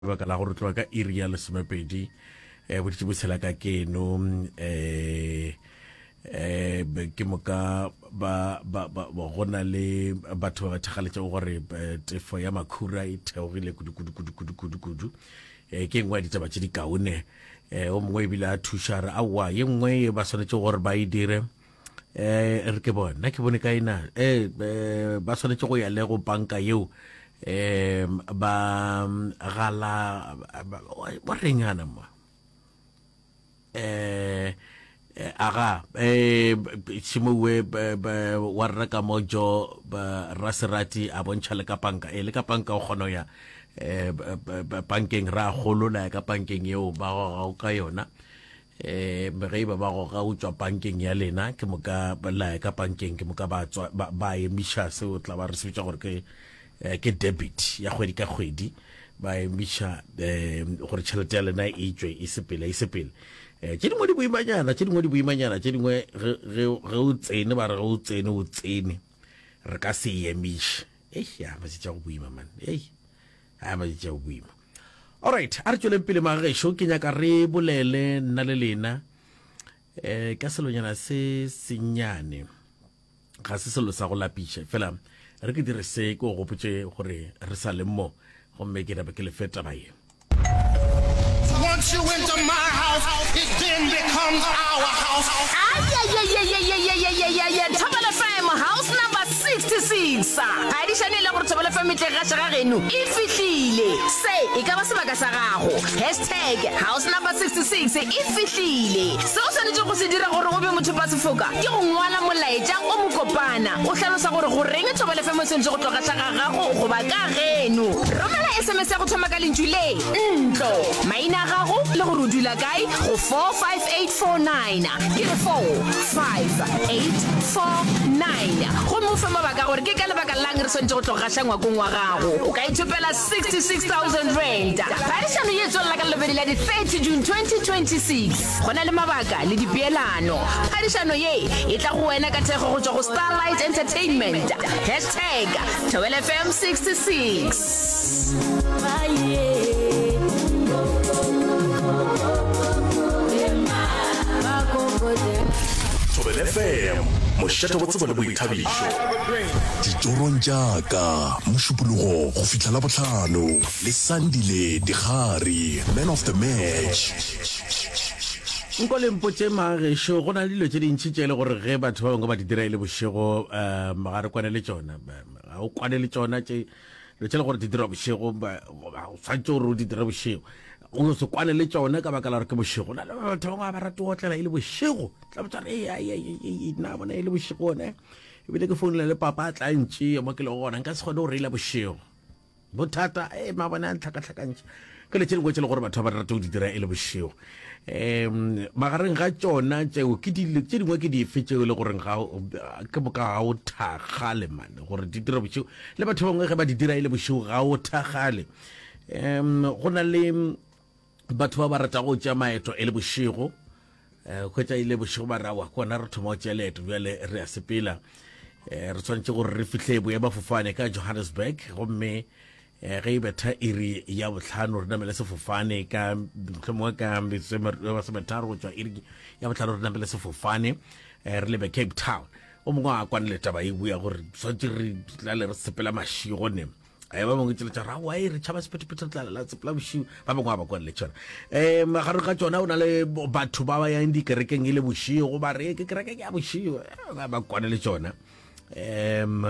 Lebaka la gore tloga ka iri ya lesomepedi um boditše botshela ka keno um um ke moka ba ba ba go na le batho ba ba thakgaletšego gore eh, tefo ya makhura e theogile kudu kudu kudu kudu kudu kudu um ke nngwe ya ditaba tše di kaone um o mongwe ebile a thuša re aowa ye nngwe ye ba swanetše gore ba e dire eh re ke bone nna ke bone kae na eh, eh ba swanetše go ya le go banka yeo eh ba gala ba reng ana mo eh aga eh tšhimowe wa rra ka mojo raserati a bontšha le ka panka eh le ka panka o kgona ya eh bankeng ra golola ya ka bankeng yeo ba goga ka yona um ge e ba ba goga o tšwa bankeng ya lena ke moka la ya ka bankeng ke moka ba tswa ba, ba emiša seo tla ba re se bitša gore ke eh, ke debit ya kgwedi ka kgwedi ba emiša um gore tšhelete ya lena e tšwe e sepele e sepele um tše dingwe di boimanyana tše dingwe di boimanyana tše dingwe ge o tsene ba re ge o tsene o tsene re ka se emiše ei ya matšatši a go boima man ei a matšatši a go boima Alright, a re tšweleng pele magešo, ke nyaka re bolele nna le lena eh ka selonyana se sennyane. Ga se selo sa go lapiša, fela re ke dire se ke o gopotše gore re sa le mo gomme ke nape ke le fe taba ye. Once you enter my house, it then becomes our house. Ayayayayayayayayaya Thobela FM house number 66 Phadišano e le gore Thobela FM e tle gaša ga geno e fihlile Se e ka ba sebaka sa gago Hashtag house number 66 e fihlile Se o swanetšego go se dira gore o be mothopasefoka ke go ngwala molaetša o mokopana o hlalosa gore goreng Thobela FM e swanetše go tlo gaša ga gago goba ka geno Romela SMS ya go thoma ka lentšu le ntlo, maina a gago le gore o dula kae go 45849. Ke re 45849. Gomme o fe mabaka a gore ke ka lebaka la'ng re swanetše go tlo gaša ngwakong wa gago. O ka ithopela R66,000. Phadišano ye e tswelela ka Lelobedi la di 30 June 2026. Go na le mabaka le dipeelano. Phadišano ye e tla go wena ka thekgo go tšwa go Starlight Entertainment. Hashtag Thobela FM 66. Thobela FM, mošate wa tsebo le boithabišo. Ditorong tša ka, Mošupologo go fihla Labohlano le Sandile Dikgari, Man of the Match. Nko le mpotše magešo, go na le dilo tše dintši tše e le gore ge batho ba bangwe ba di dira e le bošego um ga re kwane le tšona. Ga o kwane le tšona tše dilo tše le gore di dirwa bošego o tshwanetse gore o di dire bošego o no se kwane le tšona ka baka la gore ke bošego na le batho bangwe ga ba rate go otlela e le bošego tla botsa re nna bona e le bošego one ebile ke founela le papa a tla ntšea mo ke lego gona nka se kgone go reila bošego bothata e mabone a ntlhakatlhakantšha ke le tše dingwe tše le gore batho ba ba rate go di dira e le bošego um magareng ga tšona tšeo ke dilo tše dingwe ke dife tšeo e le goreng ga ke moka ga o thakgale mane gore di dira bošego le batho ba bangwe ge ba di dira e le bošego ga o thakgale um go na le batho ba ba rata go tšea maeto e le bošego um hwetša e le bošego ba rawa kona re thoma go tšea leeto bjale re a sepela um re tshwanetse gore re fihle boemafofane ka johannesburg gomme um ge e betha iri ya botlhano re namele sefofane ka mohlomongwe ka metsotso e masometharo go tšwa iri ya botlhano re namele sefofane um re lebe cape town o mongwe a kwane le taba e buya gore tshwanetse re tlale re sepela mašigo ne Eh, ba bangwe tsela tša rawa e re tšhaba sephethephethe re tla la sepela bošiu ba bangwe ga ba kwane le tšona um magareng ga tšona o na le batho ba ba yang dikerekeng e le bošigo ba re ke kereke ke ya bošigo eh, ba kwane le tšona um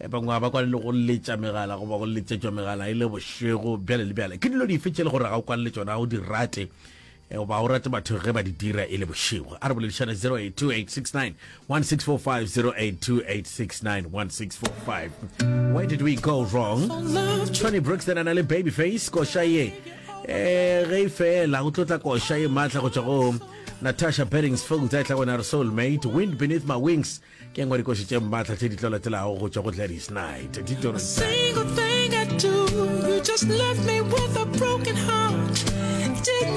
bangwe ga ba kwane le go letša megala goba go letšetšwa megala e le bošego bjale le bjale ke dilo dife tše le gore ga o kwane le tšona ga o di rate Eh, goba o rate batho ge ba di dira e le bošego a re boledišane 082869 1645 082869 1645 where did we go wrong tony brooks then a na le babyface koša ye eh ge e fela go tlotla koša ye maatla go tšwa go natasha beddingsfield a e tla gona re soulmate wind beneath my wings ke engwe dikoši tše maatla tše di tlo latelago go tšwa go gladys knight ditorong tša Single thing I do, you just left me with a broken heart. Didn't.